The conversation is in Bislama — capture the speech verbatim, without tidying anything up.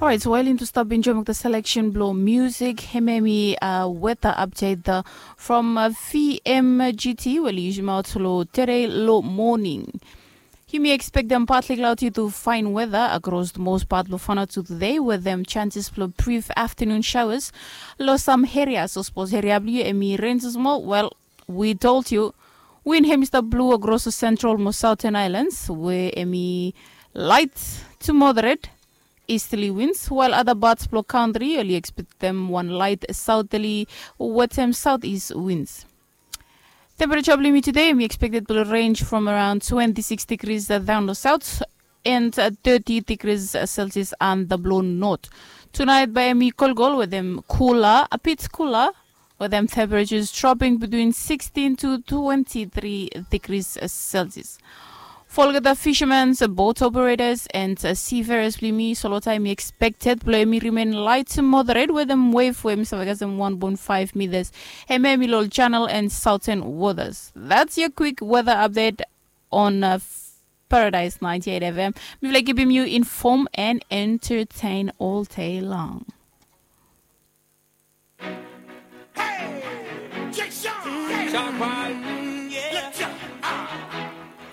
Orait, wael yumi tu stap enjoim olgeta seleksen blong musik, hemia hemi weta apdet from vmgt we oli yusimaot long tede long moning. Yumi ekspektem partli cloudy tu fine weather across the most part blong Vanuatu today, with them chances blong brief afternoon showers long some areas. Sapos area blong yu hemi rain small, well, we told you. Wind hemi stap blow across the central mo southern islands, we hemi light to moderate easterly winds, while other parts blong country oli expectem one light southerly, wetem southeast winds. Temperature blong yumi today, we expected to range from around twenty-six degrees down the south and thirty degrees Celsius on the blue north. Tonight, by mi kolkol with them cooler, a bit cooler, with them temperatures dropping between sixteen to twenty-three degrees Celsius. For olgeta fishermen, boat operators, and seafarers blong yumi, solo time expected blong yumi remain light to moderate, with them wave we hemi save kasem one point five meters. Hemia hemi long channel and southern waters. That's your quick weather update on Paradise ninety-eight F M. Mifala kipim yu inform and entertain all day long.